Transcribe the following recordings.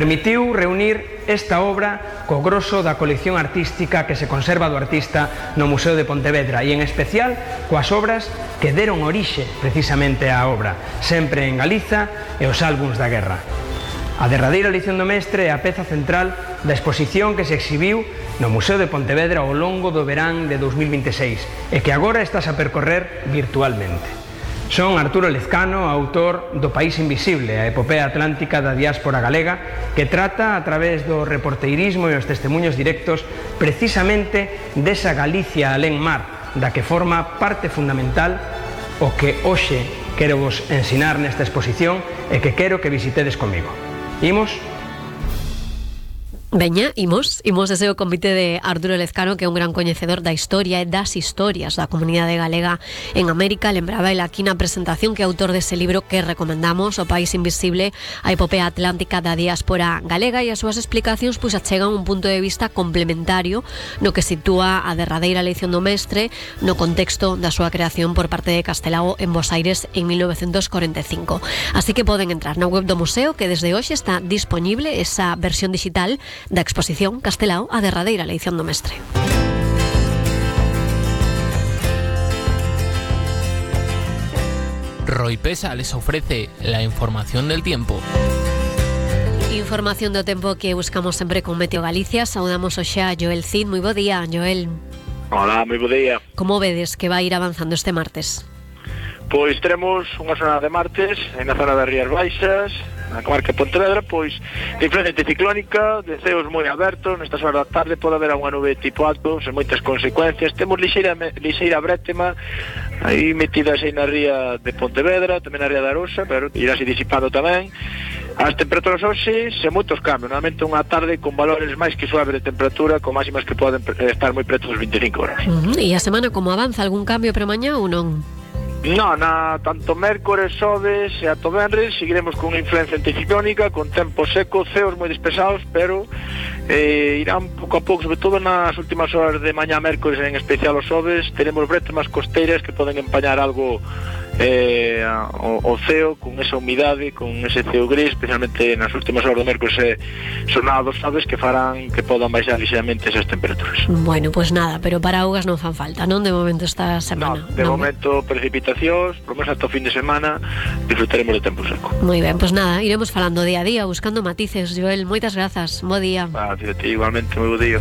Permitiu reunir esta obra co groso da colección artística que se conserva do artista no Museo de Pontevedra e en especial coas obras que deron orixe precisamente á obra, sempre en Galiza e os álbums da guerra. A derradeira lección do mestre é a peza central da exposición que se exhibiu no Museo de Pontevedra ao longo do verán de 2026 e que agora estás a percorrer virtualmente. Son Arturo Lezcano, autor do País Invisible, a epopea atlántica da diáspora galega, que trata a través do reporteirismo e os testemunhos directos precisamente desa Galicia alén mar, da que forma parte fundamental o que hoxe quero vos ensinar nesta exposición e que quero que visitedes comigo. Imos? Veña, imos ese o convite de Arturo Lezcano, que é un gran coñecedor da historia e das historias da comunidade galega en América. Lembraba el aquí na presentación que é autor dese libro que recomendamos, O País Invisible, a epopea atlántica da diáspora galega, e as súas explicacións pois achegan un punto de vista complementario no que sitúa a derradeira lección do mestre no contexto da súa creación por parte de Castelao en Bos Aires en 1945. Así que poden entrar na web do museo, que desde hoxe está disponible esa versión digital da exposición Castelao, a derradeira lección do mestre. Roipesa les ofrece la información del tiempo. Información do tempo que buscamos sempre con Meteo Galicia. Saudamos hoxe a Joel Cid. Moi bo día, Joel. Hola, moi bo día. Como vedes que vai ir avanzando este martes? Pois teremos unha jornada de martes na zona das Rías Baixas, na comarca de Pontevedra, pois de influencia anticiclónica, de ceos moi abertos. Nestas horas da tarde pode haber unha nube tipo alto, sen moitas consecuencias. Temos lixeira brétema aí metidas aí na ría de Pontevedra, tamén na ría da Arosa, pero irase disipando tamén. As temperaturas hoxe sen moitos cambios, normalmente unha tarde con valores máis que suaves de temperatura, con máximas que poden estar moi preto dos 25 horas. E a semana como avanza? Algún cambio para mañá ou non? Non, tanto mércores, xoves e ato venres seguiremos con unha influencia anticiclónica, con tempo seco, ceos moi despesados, pero irán pouco a pouco, sobre todo nas últimas horas de mañá mércores, en especial os xoves, teremos brétemas costeiras que poden empañar algo o ceo, con esa humidade, con ese ceo gris, especialmente nas últimas horas do mércores e xornada dos xoves, que farán que podan baixar ligeramente esas temperaturas. Bueno, pues nada, pero para augas non fan falta, non? De momento esta semana. No, de momento precipitacións, por menos ata o fin de semana disfrutaremos de tempo seco. Moi ben, pues nada, iremos falando día a día, buscando matices. Joel, moitas grazas, bo día. Igualmente, moi bo día.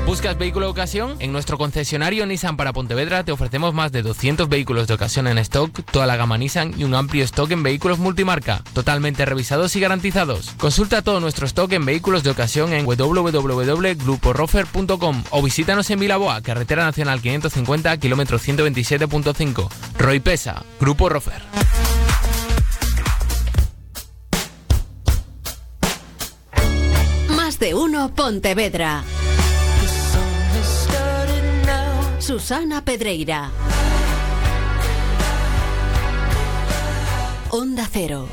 ¿Buscas vehículo de ocasión? En nuestro concesionario Nissan para Pontevedra te ofrecemos más de 200 vehículos de ocasión en stock, toda la gama Nissan y un amplio stock en vehículos multimarca, totalmente revisados y garantizados. Consulta todo nuestro stock en vehículos de ocasión en www.gruporofer.com o visítanos en Vilaboa, carretera nacional 550, kilómetro 127.5. Roipesa, Grupo Rofer. Más de uno Pontevedra. Susana Pedreira. Onda Cero.